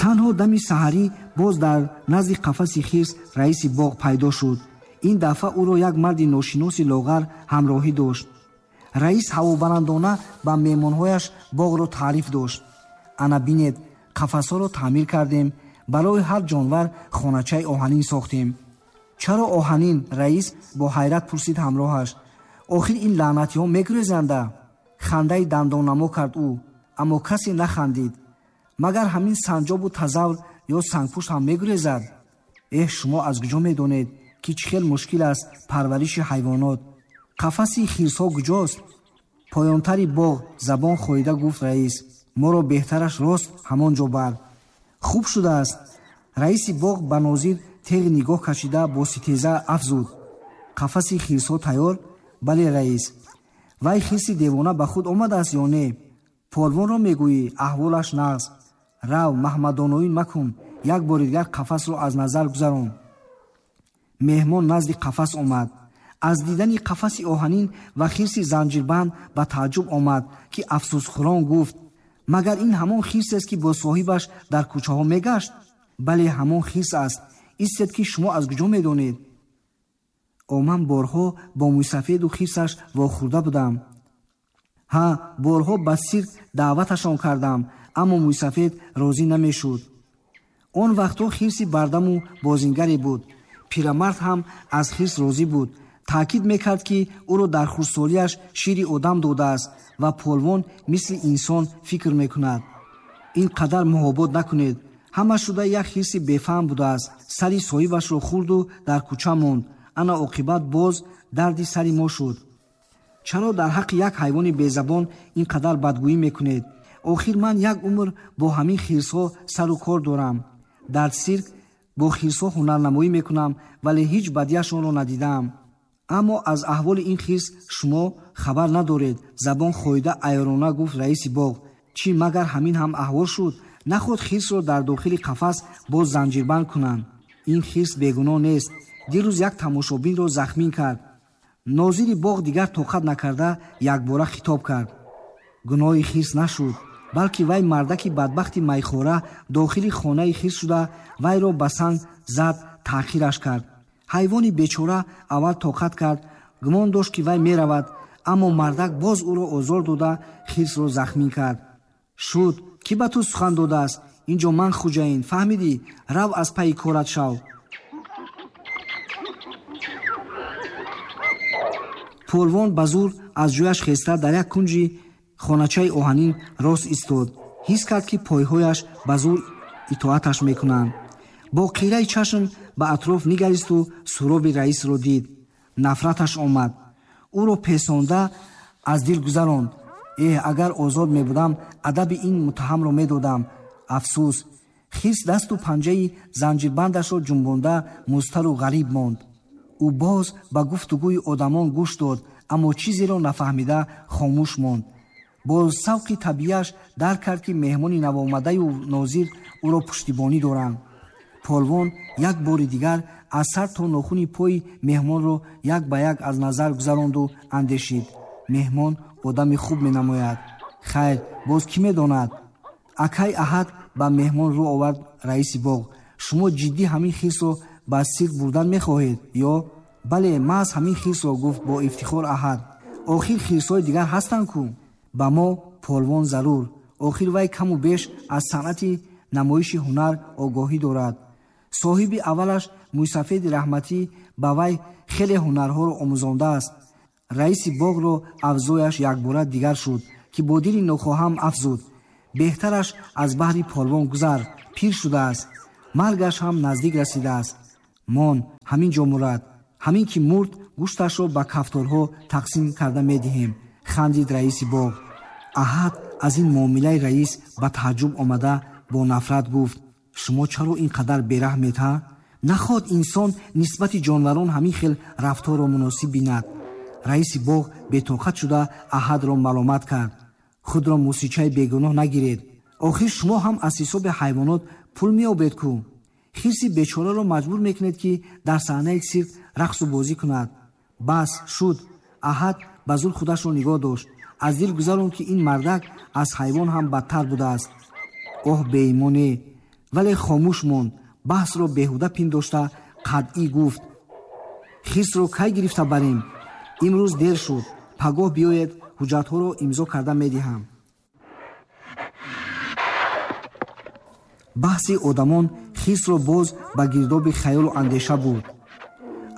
Танҳо дами саҳарӣ боз дар назди қафаси хирс раиси боғ пайдо шуд. Ин дафъа ӯро як марди ношиноси лоғар ҳамроҳӣ дошт. Раис ҳавобаландона ба меҳмонҳояш боғро таъриф дошт. Ана бинед, қафасҳоро таъмир кардем, барои ҳар ҷонвар хоначаи оҳанин сохтем. Чаро оҳанин, раис? Бо ҳайрат пурсид ҳамроҳаш. Охир ин лаънатиҳо мегурезанда? Хандаи дандоннамо кард ӯ, аммо касе нахандид. Магар ҳамин санҷобу тазавр ё сангпушт ҳам мегурезад? Эҳ, шумо аз куҷо медонед, ки чӣ хел мушкил аст парвариши ҳайвонот? Қафаси хирсҳо куҷост? Поёнтари боғ, забон хоида гуфт раис. Моро беҳтараш рост ҳамон ҷо бар. Хуб шудааст. Раиси боғ ба нозир теғи нигоҳ кашида бо ситеза афзуд. Қафаси хирсҳо тайёр? Бале, раис. Вай хирси девона ба худ омадааст ё не? Полвонро мегӯӣ, аҳволаш нағз. Рав, маҳмадоноин макун, як бори дигар қафасро аз назар гузарон. Меҳмон назди қафас омад. Аз дидани қафаси оҳанин ва хирси занҷирбанд ба тааҷҷуб омад, ки афсӯсхӯрон гуфт: магар ин ҳамон хирсест, ки бо соҳибаш дар кӯчаҳо мегашт? Бале, ҳамон хирс аст. Истед, ки шумо аз куҷо медонед? Ман борҳо бо мӯйсафеду хирсаш вохӯрда будам. Ҳа, борҳо ба сирк даъваташон кардам, аммо мӯйсафед розӣ намешуд. Он вақтҳо хирси бардаму бозингаре буд. Пирамард ҳам аз хирс розӣ буд. Таъкид мекард, ки ӯро дар хурдсолиаш шири одам додааст ва полвон мисли инсон фикр мекунад. Ин қадар муҳобот накунед. Ҳама шуда як хирси бефаҳм будааст. Сари соҳибашро хӯрду дар кӯча монд. Ана оқибат боз дарди сари мо шуд. Чаро дар ҳаққи як ҳайвони безабон ин қадар бадгӯӣ мекунед? Охир ман як умр бо ҳамин хирсҳо сару кор дорам. Дар сирк бо хирсҳо ҳунарнамоӣ мекунам, вале ҳеҷ бадиашонро надидаам. Аммо аз аҳволи ин хирс шумо хабар надоред, забон хоида айёрона гуфт раиси боғ. Чӣ магар ҳамин ҳам аҳвол шуд? Наход хирсро дар дохили қафас боз занҷирбанд кунанд. Ин хирс бегуноҳ нест. Дирӯз як тамошобинро захмин кард. Нозири боғ дигар тоқат накарда якбора хитоб кард. Гуноҳи хирс нашуд, балки вай мардаки бадбахти майхора дохили хонаи хирс шуда вайро ба санг зад, таъхираш кард. Ҳайвони бечора аввал тоқат кард, гумон дошт, ки вай меравад, аммо мардак боз ӯро озор дода хирсро захмин кард. Шуд, кӣ ба ту сухан додааст? Ин ҷо ман хуҷаин, фаҳмидӣ? Рав, аз пайи корат шав. Полвон ба зур аз ҷояш хеста дар як кунҷи хоначаи оҳанин рост истод. Ҳис кард, ки пойҳояш ба зур итоаташ мекунанд. Бо қираи чашм ба атроф нигаристу суроби раисро дид. Нафраташ омад. Ӯро песонда аз дил гузаронд. Эҳ, агар озод мебудам, адаби ин муттаҳамро медодам. Афсӯс, хирс дасту панҷаи занҷирбандашро ҷунбонда музтару ғариб монд. Ӯ боз ба гуфтугӯи одамон гӯш дод, аммо чизеро нафаҳмида хомӯш монд. Бо савқи табиаш дарк кард, ки меҳмони навомадаю нозир ӯро пуштибонӣ доранд. Полвон як бори дигар аз сар то нохуни пои меҳмонро як ба як аз назар гузаронду андешид. Меҳмон одами хуб менамояд. Хайр, боз кӣ медонад? Акай Аҳад, ба меҳмон рӯ овард раиси боғ, шумо ҷиддӣ ҳамин хирсро ба сирк бурдан мехоҳед ё? Бале, маҳз ҳамин хирсро, гуфт бо ифтихор Аҳад. Охир хирсҳои дигар ҳастанд ку? Ба мо полвон зарур. Охир вай каму беш аз санъати намоиши ҳунар огоҳӣ дорад. Соҳиби аввалаш мӯйсафеди раҳматӣ ба вай хеле ҳунарҳоро омӯзондааст. Раиси боғро авзояш якбора дигар шуд, ки бо дили нохоҳам афзуд: беҳтараш аз баҳри полвон гузар, пир шудааст, маргаш ҳам наздик расидааст. Мон ҳамин ҷо мурад. Ҳамин ки мурд, гӯшташро ба кафторҳо тақсим карда медиҳем, хандид раиси боғ. Аҳад аз ин муомилаи раис ба тааҷҷуб омада бо нафрат гуфт: шумо чаро ин қадар бераҳмед, ҳа? Нахоҳад инсон нисбати ҷонварон ҳамин хел рафторро муносиб бинад. Раиси боғ бетоқат шуда Аҳадро маломат кард. Худро мусичаи бегуноҳ нагиред. Охир шумо ҳам аз ҳисоби ҳайвонот пул меёбед ку. Хирси бечораро маҷбур мекунед, ки дар саҳнаи сирк рақсу бозӣ кунад. Бас шуд. Аҳад ба зур худашро нигоҳ дошт. Аз дил гузаронд, ки ин мардак аз ҳайвон ҳам бадтар будааст. Оҳ, беимоне! Вале хомӯш монд. Баҳсро беҳуда пиндошта қатъӣ гуфт: хирсро кай гирифта барем? Имрӯз дер шуд, пагоҳ биёед, ҳуҷҷатҳоро имзо карда медиҳам. Баҳси одамон хирсро боз ба гирдоби хаёлу андеша бурд.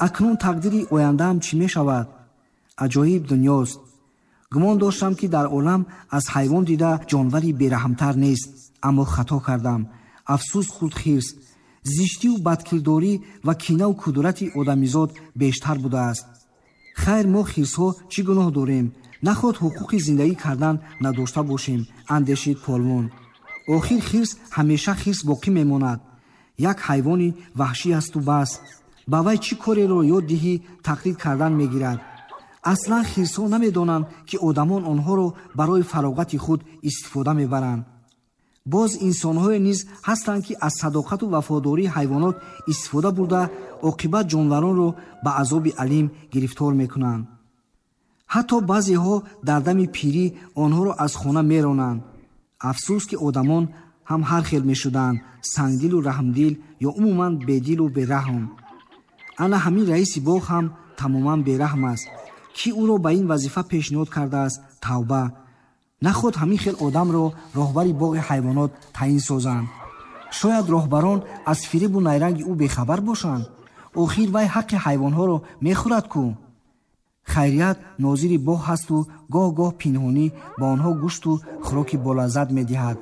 Акнун тақдири ояндаам чӣ мешавад? Аҷоиб дунёст. Гумон доштам, ки дар олам аз ҳайвон дида ҷонвари бераҳмтар нест, аммо хато кардам. Афсӯс хӯрд хирс. Зиштиву бадкирдорӣ ва кинаву кудурати одамизод бештар будааст. Хайр, мо хирсҳо чӣ гуноҳ дорем? Наход ҳуқуқи зиндагӣ кардан надошта бошем, андешид полвон. Охир хирс ҳамеша хирс боқӣ мемонад. Як ҳайвони ваҳшӣ асту бас. Ба вай чӣ кореро ёд диҳӣ, тақлид кардан мегирад. Аслан хирсҳо намедонанд, ки одамон онҳоро барои фароғати худ истифода мебаранд. Боз инсонҳое низ ҳастанд, ки аз садоқату вафодории ҳайвонот истифода бурда, оқибат ҷонваронро ба азоби алим гирифтор мекунанд. Ҳатто баъзеҳо дар дами пирӣ онҳоро аз хона меронанд. Афсӯс, ки одамон ҳам ҳар хел мешуданд, сангдилу раҳмдил ё умуман бедилу бераҳм. Ана ҳамин раиси боғ ҳам тамоман бераҳм аст. Кӣ ӯро ба ин вазифа пешниҳод кардааст? Тавба! Наход ҳамин хел одамро роҳбари боғи ҳайвонот таъин созанд. Шояд роҳбарон аз фиребу найранги ӯ бехабар бошанд. Охир вай ҳаққи ҳайвонҳоро мехӯрад ку. Хайрият нозири боғ ҳасту гоҳ-гоҳ пинҳонӣ ба онҳо гӯшту хӯроки болаззат медиҳад.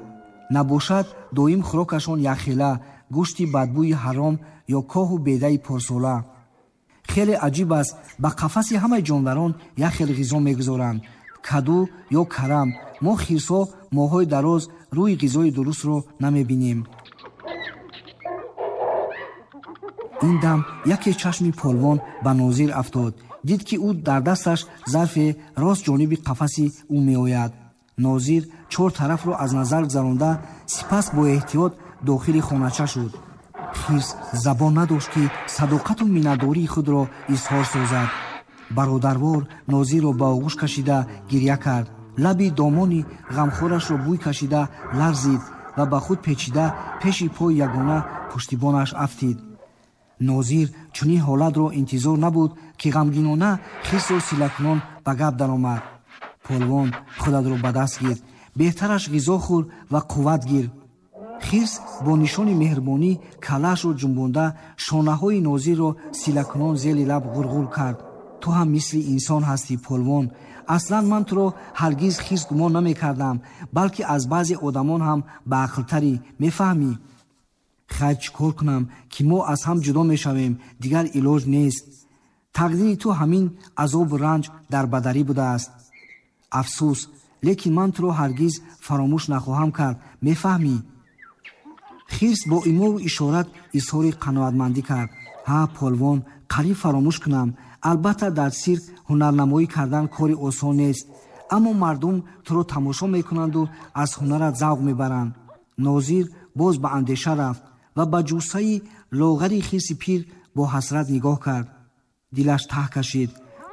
Набошад, доим хӯрокашон якхела, гӯшти бадбӯи ҳаром ё коҳу бедаи порсола. Хеле аҷиб аст, ба қафаси ҳамаи ҷонварон як хел ғизо мегузоранд: каду ё карам. Мо хирсҳо моҳҳои дароз рӯи ғизои дурустро намебинем. Ин дам яке чашми полвон ба нозир афтод. Дид, ки ӯ дар дасташ зарфе рост ҷониби қафаси ӯ меояд. Нозир чор тарафро аз назар гузаронда, сипас бо эҳтиёт дохили хонача шуд. Хирс забон надошт, ки садоқату миннатдории худро изҳор созад. Бародарвор нозирро ба оғӯш кашида гирья кард. Лаби домони ғамхорашро бӯй кашида ларзид ва ба худ печида пеши пои ягона пуштибонаш афтид. Нозир чунин ҳолатро интизор набуд, ки ғамгинона хирсро силакунон ба гап даромад. Полвон, худатро ба даст гир, беҳтараш ғизо хӯр ва қувват гир. Хирс бо нишони меҳрубонӣ калаашро ҷунбонда, шонаҳои нозирро силакунон зери лаб ғурғур кард. Ту ҳам мисли инсон ҳастӣ, полвон. Аслан ман туро ҳаргиз хирс гумон намекардам, балки аз баъзе одамон ҳам баақлтарӣ, мефаҳмӣ? Хайр, чӣ кор кунам, ки мо аз ҳам ҷудо мешавем, дигар илоҷ нест. Тақдири ту ҳамин азобу ранҷ дар бадарӣ будааст. Афсӯс, лекин ман туро ҳаргиз фаромӯш нахоҳам кард, мефаҳмӣ? Хирс бо имову ишорат изҳори қаноатмандӣ кард. Ҳа, полвон, қариб фаромӯш кунам. Албатта, дар сирк ҳунарнамоӣ кардан кори осон нест, аммо мардум туро тамошо мекунанду аз ҳунарат завқ мебаранд. Нозир боз ба андеша рафт ва ба ҷуссаи лоғари хирси пир бо ҳасрат нигоҳ кард. Дилаш таҳ кашид.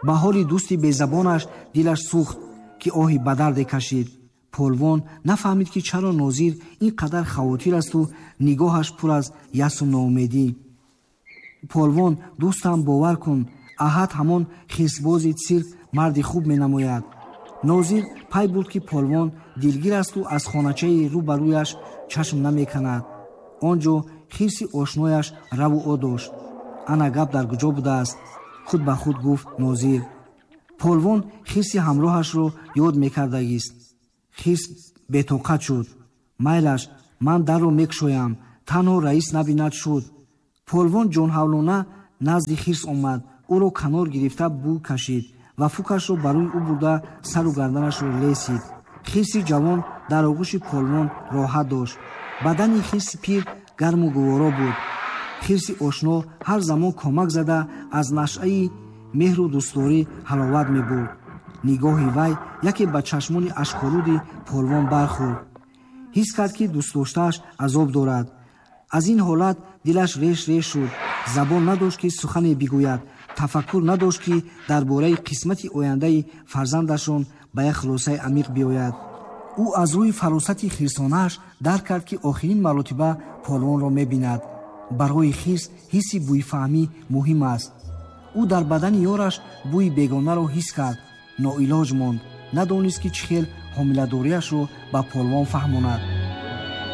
Ба ҳоли дӯсти безабонаш дилаш сӯхт, ки оҳи ба дарде кашид. Полвон нафаҳмид, ки чаро нозир ин қадар хавотир асту нигоҳаш пур аз ясу ноумедӣ. Полвон, дӯстам, бовар кун, аҳад ҳамон хирсбози сирк марди хуб менамояд. Нозир пай бурд, ки полвон дилгир асту аз хоначаи рӯ ба рӯяш чашм намеканад. Он ҷо хирси ошнояш раву о дошт. Ана гап дар куҷо будааст, худ ба худ гуфт нозир. Полвон хирси ҳамроҳашро ёд мекардагист. Хирс бетоқат шуд. Майлаш, ман дарро мекушоям, танҳо раис набинад шуд. Полвон ҷонҳавлона назди хирс омад, ӯро канор гирифта бӯй кашид ва фукашро ба рӯи ӯ бурда сару гарданашро лесид. Хирси ҷавон дар оғӯши полвон роҳат дошт. Бадани хирси пир гарму гуворо буд. Хирси ошно ҳар замон комак зада аз нашъаи меҳру дӯстдорӣ ҳаловат мебурд. Нигоҳи вай яке ба чашмони ашколуди полвон бархӯрд. Ҳис кард, ки дӯстдоштааш азоб дорад. Аз ин ҳолат дилаш реш реш шуд. Забон надошт, ки сухане бигӯяд, тафаккур надошт, ки дар бораи қисмати ояндаи фарзандашон ба як хулосаи амиқ биёяд. Ӯ аз рӯи фаросати хирсонааш дарк кард, ки охирин маротиба полвонро мебинад. Барои хирс ҳисси бӯйфаҳмӣ муҳим аст. Ӯ дар бадани ёраш бӯи бегонаро ҳис кард, ноилоҷ монд, надонист, ки чӣ хел ҳомиладориашро ба полвон фаҳмонад.